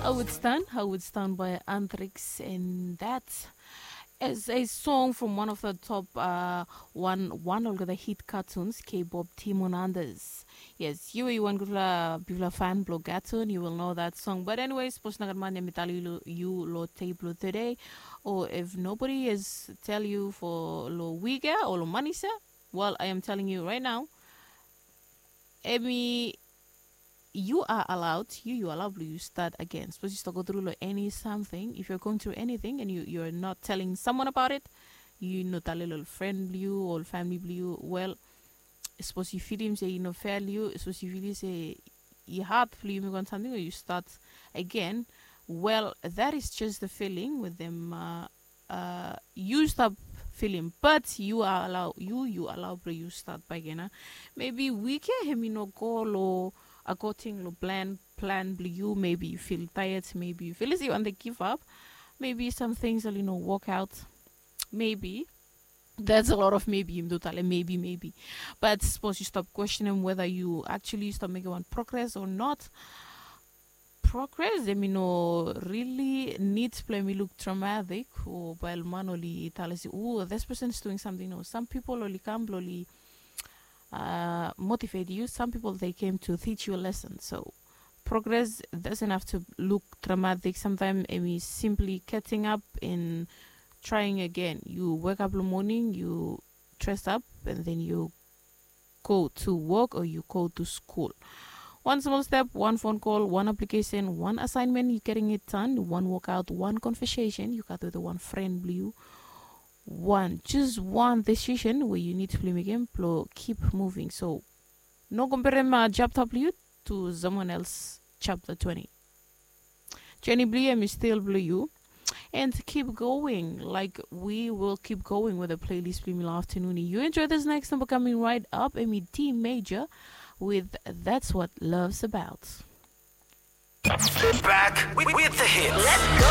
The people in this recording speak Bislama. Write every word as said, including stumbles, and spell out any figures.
How it's done, how it's done by Andrix, and that is a song from one of the top uh, one one olgeta hit cartoons, K-pop Timon Anders. Yes, you are one gutfla bifla fan blo cartoon, you will know that song. But anyway, suppose na gat man yam Italy you lo tape lo today, or if nobody is tell you for lo week or lo money, sir, well, I am telling you right now, Emi, you are allowed, you you allowed blue you start again. Suppose you start go through like any something. If you're going through anything and you you're not telling someone about it, you know that little friend blue or family blue. Well, suppose you feel him say you know fair you. Suppose you feel say you hard blue you make on something or you start again. Well, that is just the feeling with them. Uh, uh, you stop feeling, but you are allow you you allow bro you start back again. Maybe week ya him you know go lo according lo plan plan blue you. Maybe you feel tired, maybe you feel as you want to give up, maybe some things will you know work out, maybe. That's a lot of maybe you do tale maybe maybe. But suppose you stop questioning whether you actually stop making one progress or not. Progress, I mean, no really needs play me look traumatic or while man only tell us, oh, this person is doing something. No, some people only come only uh, motivate you. Some people they came to teach you a lesson. So progress doesn't have to look dramatic. Sometimes I mean simply getting up and trying again. You wake up in the morning, you dress up, and then you go to work or you go to school. One small step, one phone call, one application, one assignment, you're getting it done. One workout, one conversation you got with one friend blue. One, just one decision where you need to play game, blow, keep moving. So, no compare my job W to someone else chapter twenty. Jenny Blue, I'm still blue you. And keep going. Like we will keep going with the playlist Blue Mila afternoon. You enjoy this next number coming right up. Emi D major with That's What Love's About. Back with, with the hits. Let's go.